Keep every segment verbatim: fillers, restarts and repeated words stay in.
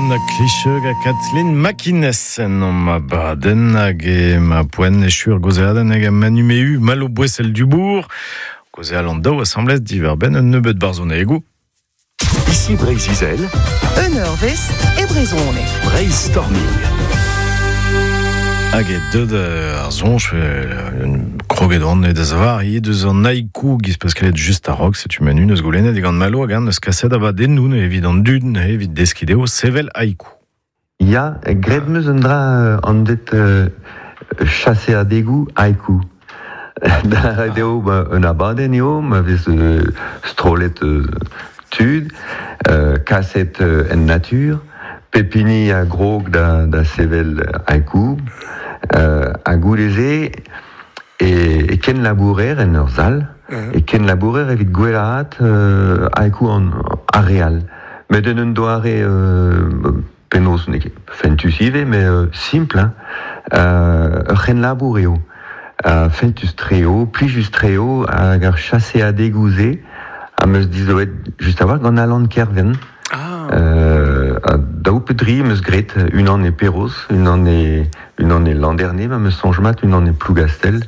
Alan Klicheux a Kathleen MacInnes en ma baden hag e ma poen echur gozeaden hag a Manu Méhu Malo Boissel Dubourg gozeal an daou asamblez diverben un nebeud barzhonegou. Ici Breizh-Izel, Un eurvezh e brezhoneg. Breizh-Storming. Hag e deud ar zonj, kroget an e da zavar, ie deus an haiku giz pascalet just a-raok, setu Manu neus goulennet gant Malo hag an neus kaset abadennoù evit an dud evit deskideo sevel haiku. Ya, graet meus un dra an det euh, chaseadegoù haiku. Da radio ba, un abadenn eo, ma vez euh, strolet euh, tud, euh, kaset euh, en natur, pepini a grog da, da sevel haiku, euh, a goudeze e, e ken labourer en ur zal, e ken labourer evit gwelaat euh, haiku an areal. Met en un doare euh, penaos n'eo ket fentus ivez, mais euh, simple, hein. Euh, ur c'hen labour eo. Uh, fentus treo, plijus treo, hag ar chaseadegou-se, a meus dizoet just a-walc'h gant Alan Kerven. Ah. Euh, a daou pe dri meus graet, unan e Perroz, unan e, unan e Landerne, ma meus soñj mat, unan e Plougastel.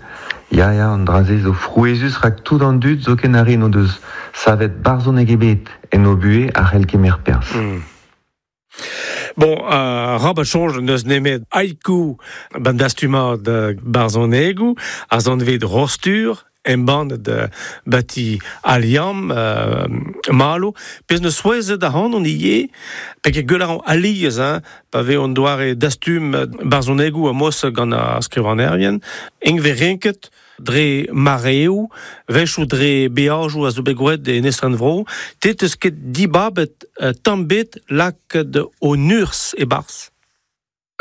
Ya, ya, an dra-se zo frouezhus rak tout an dud zo ken ar re n'o deus savet barzhoneg ebet en o buhez a c'hell kemer perzh. Mm. Bon, uh, rabat soñj neus nemet haiku ban dastumad barzhonegou, a zanvet rostur, embann de bati aliam euh, malo, pez neus souezet a han on ie, peke gueul an aliez, hein, pa ve on doare dastum barzhonegou a mos gant ar skrivanerien, eng ve renket dre mareoù, wechoù dre beajoù a zo bet gwraet en estren vro, te teus ket dibabet euh, tamm bet lakaet o urzh e-barzh.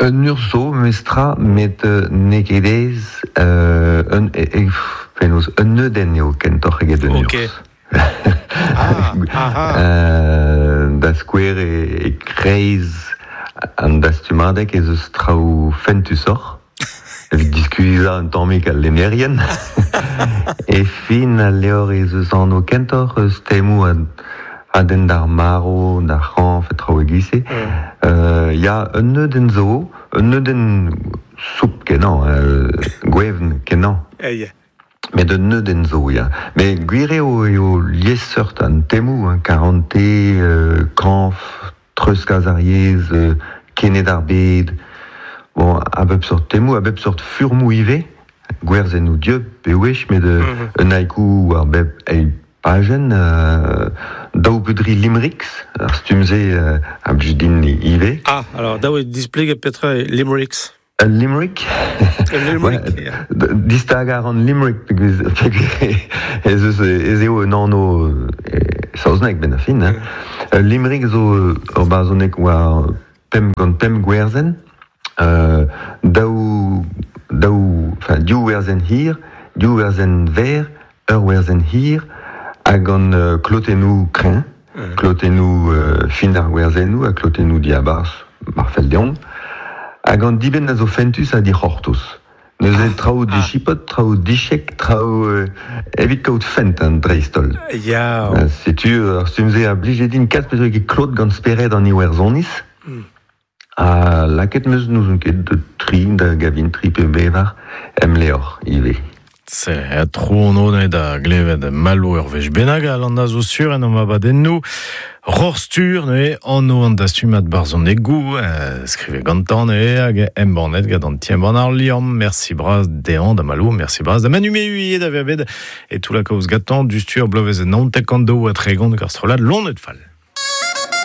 Un urzh zo, mestra, met euh, n'eo ket aes, euh, un, e, e, penaos, un neudenn eo kentoc'h eget un Ok. urzh. Ah, ah, ah. Euh, da skouer e, e kreiz an dastumadeg ez eus traoù fentusoc'h, evit diskuizhañ un tammig al lennerien. E fin al levr ez eus anv kentoc'h eus temoù a, a den d'ar marv, d'ar c'hañv, e traoù e-giz-se. Mm. Euh, ya, un neudenn zo, un neudenn soup kenañ, euh, gwevn kenañ. Eh, ya. Met un neudenn zo, ya. Met gwir eo eo liesseurt an temoù, hein, karante, euh, kañv, treuzkas ar yezh, euh, kened ar bed. Bon, a bep seurt temoù, a bep seurt furmoù ivez, gwerzennoù dieub pe wech, met euh, Mhm. un haiku war bep eil pajenn, euh, daou pe dri limericks, ar stumm-se euh, a blij din ivez. Ah, alors daou e displeget petra eo limericks. Un limerick. Un limerick, Ouais, ya. d- Distagañ an limerick peogwir peogwir ez eus ez eo un anv e saozneg benn ar fin, hein. Un limerick zo ur barzhoneg war pemp gant pemp gwerzenn, euh, daou, daou, enfin, div werzenn hir, div werzenn verr, ur werzenn hir, hag gant euh, klotennoù kreñv, Mm. klotennoù euh, fin ar gwerzennoù ha klotennoù diabarzh mar fell deomp, hag an dibenn a zo fentus ha dic'hortoz. Neuze traoù ah. dichipot, traoù dichek, traoù euh, evit kaout fent an dreist-holl. Ya. Euh, setu ar stumm-se a blije din kalz peogwir ket klot gant spered an Iwerzhoniz. Mm. Ha lakaet meus n'ouzon ket de tri da gavin tri pe bevar em levr ivez. Se, a tro an one da glevet Malo ur wech bennak al an a zo sur en am abadennoù. Rorstur neuze anv an dastumad barzhonegou, euh, skrivet gantañ neuze hag embannet gant an ti-embann ar Liamm. Merci bras dezhañ da Malo, merci bras da Manu Méhu da vezañ bet e tout la kaoz gantañ du stur bloavezh naontek an daou ha tregont ar strollad Loened Fall.